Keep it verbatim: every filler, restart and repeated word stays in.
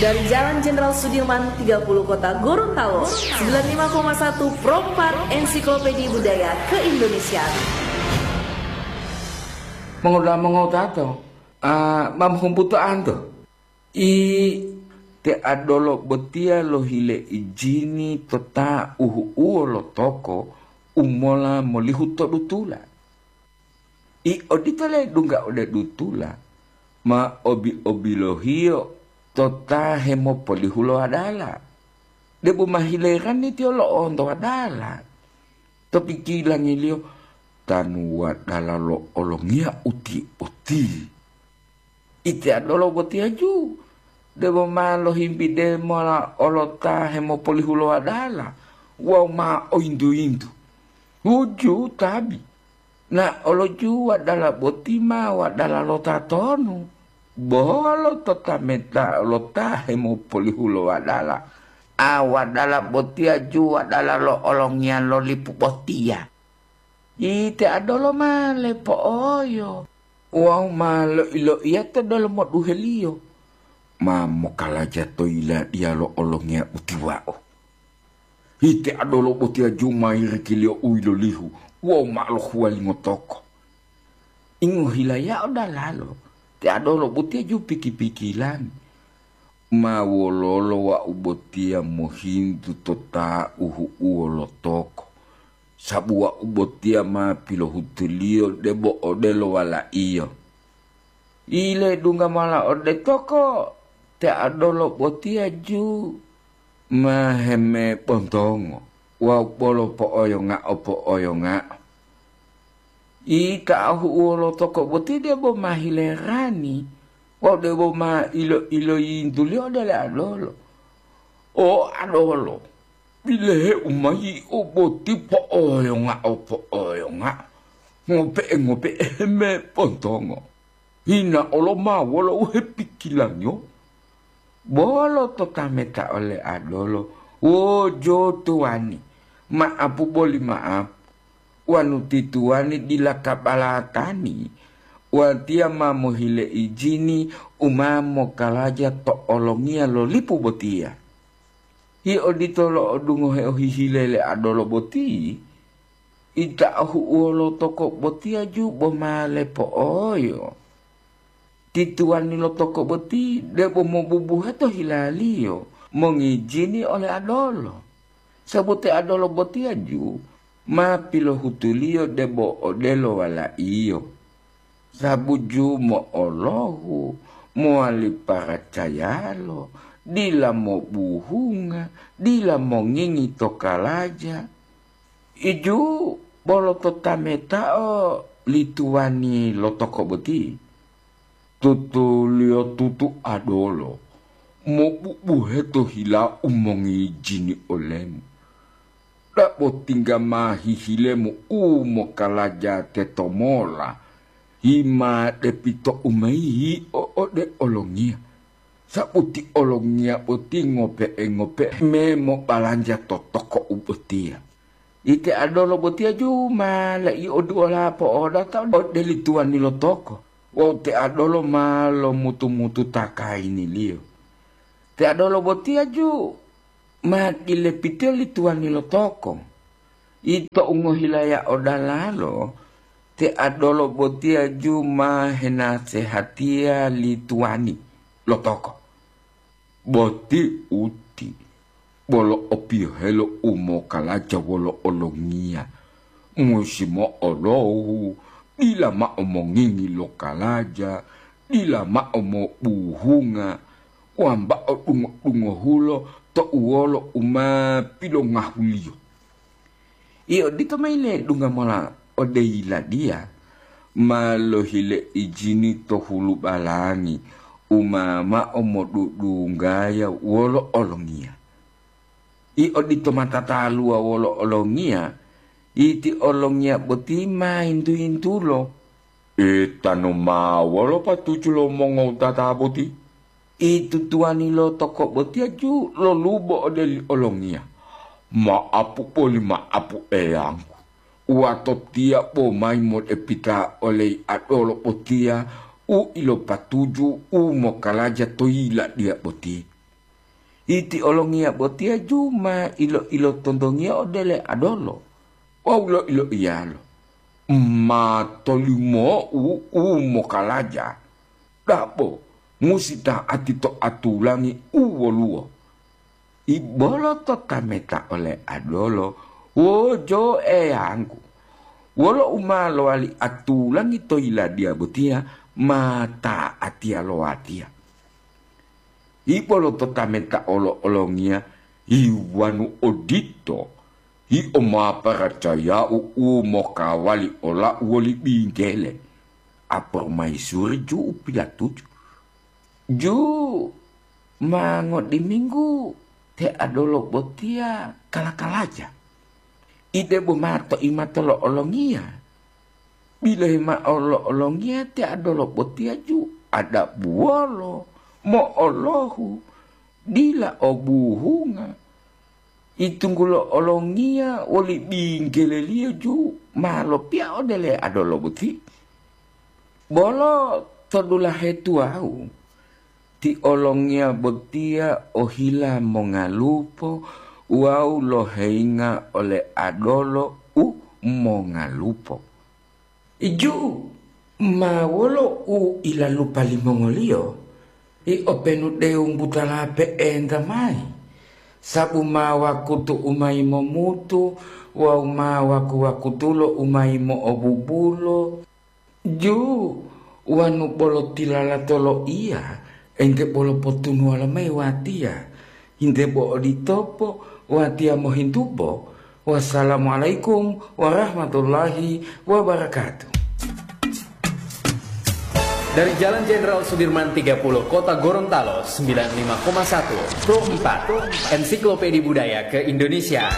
Dari Jalan Jenderal Sudirman tiga puluh Kota Gorontalo, sembilan lima koma satu Pro empat Ensiklopedia Budaya Keindonesiaan. Mongoda mongotato, ah, ma mohumbutoanto. I te adolo botiya lohile ijini to ta uhu'uwo lo toko u mola molihu to dutula. I odito ledungga ode dutula, ma obi-obilohiyo to ta hemopolihu lo wadala. Debo ma hilerani tiyo lo'onto wadala. To pikilangiliyo, tanu wadala lo olongiya uti-uti. Ite adolo botiya ju, debo ma lohimbide mola olo ta hemopolihu lo wadala wawu ma oyintu-yintu. Huju tabi, na olo ju wadala boti ma wadala lo tatonu, bolo to tameta lo ta hemopolihu lo wadala, a wadala botiya ju wadala lo olongiya lo lipu botiya. Ite adolo ma lepo'oyo wawu ma loi-loiya to delomo duheliyo, ma mokalaja to yiladiya lo olongiya utiwa'o. Ite adolo botiya ju ma yirikiliyo u yilolihu wawu ma lohuwalingo toko. Ingohilayao dalalo, te adolo botiya ju piki-pikilani. Ma wololo wau botiya mohintu to ta uhu'uwo lo toko, sabu wau botiya ma pilohutuliyo debo odelo walaiyo. Iledungga mola ode toko, te adolo botiya ju ma hemebontongo wawu bolo po'oyongao-po'oyongao. Ita ahu'uwo lo toko boti debo ma hilerani wawu debo ma ilo-iloyintuliyo ode le adolo. O adolo, bilehe u ma yi'o boti po'oyongao-po'oyongao, ngope'e-ngope'e hemebontongo. Hina olo ma wolo u hepikilangiyo. Bolo to tameta ole adolo, wo jo tuwani, ma'apu boli ma'apu. Wonu ti tuwani dila kabalatani, watiya ma mohile ijini u ma mokalaja to olongiya lo lipu botiya. Yio odito lo'odungohe ohihile le adolo boti, ita ohu'uwo lo toko botiya ju bo ma lepo'oyo. Ti tuwani lo toko boti debo mobubuhe to hilaliyo mongijini ole adolo, sabu te adolo botiya ju ma pilohutuliyo debo odelo walaiyo. Sabu ju mo'olohu, mowali paracayalo, dila mobuhunga, dila mongingi to kalaja. Iju bolo to tametao li tuwani lo toko boti. Tutuliyotutu adolo, mobubuhe to hila u mongijini olemu. Dabo tingga ma hihilemu u mokalaja tetomola, yima depito u ma yi'o ode olongiya, sabu ti olongiya boti ngope'e-ngope'e me mobalanja to toko u botiya. Ite adolo botiya ju ma lai'oduwola po'odata ode li tuwani lo toko wawu te adolo ma lomutu-mututa kayiniliyo. Te adolo botiya ju ma dilepitiyo li tuwani lo toko. Ito u ngohilaya odalalo, te adolo botiya ju ma henasehatiya li tuwani lo toko. Boti uti, bolo opiyohelo u mokalaja wolo olongiya, musi mo'olohu, dila mao mongingi lo kalaja, dila mao mobuhunga, wambao dungo-dungohulo to uwolo u ma pilongahuliyo. I odito mayi ledungga mola ode yiladiya, ma lohile ijini to hulubalangi u ma mao modudunggaya wolo olongiya. I odito ma tataluwa wolo olongiya, iti olongiya boti ma yintu-yintulo. Etanu ma wolo patuju lo mongowutata boti? Itu tuwani lo toko botiya ju lolubo ode li olongiya, ma'apu boli ma'apu eyanggu. Watotiya bo mayi modepita ole adolo botiya u ilopatuju u mokalaja to yiladiya boti. Iti olongiya botiya ju ma ilo-ilotontongiya ode le adolo wawu loiloiyalo, "Ma tolimo'u u mokalaja, dabo musi ta'ati to atulangi u woluwo." Ibolo to tameta ole adolo, "Wojo eyanggu, wolo u ma lowali atulangi to yiladiya botiya ma ta'atiya lo watiya." Ibolo to tameta olo-olongiya, "Iwanu odito, yio ma paracaya'u u mokawali olau woli binggele." Apormaisuri ju u pilatuju. Ju ma ngodiminggu te adolo botiya kala-kalaja. Ide bo ma to imato lo olongiya. Bilohi mao lo olongiya te adolo botiya ju adabuwolo, mo'olohu, dila o buhunga. Itunggulo olongiya woli binggeleliyo ju ma lopiya ode le adolo boti. Bolo to dulahe tuwawu, ti olongiya botiya ohila mongalupo wawu loheyinga ole adolo u mongalupo. Ju ma wolo u ilalupa limongoliyo, i openu dewu butala pe'enta mayi, sabu ma wakutu u mayi momutu wawu ma waku-wakutulo u mayi mo'obubulo. Ju wanu bolo tilalato loiya, ente bolo potunuwalo mayi watiya. Hinte bo oditopo watiya mohintubo. Wassalamualaikum warahmatullahi wabarakatuh. Dari Jalan Jenderal Sudirman tiga puluh, Kota Gorontalo, sembilan lima koma satu, Pro empat, Ensiklopedia Budaya ke-Indonesia.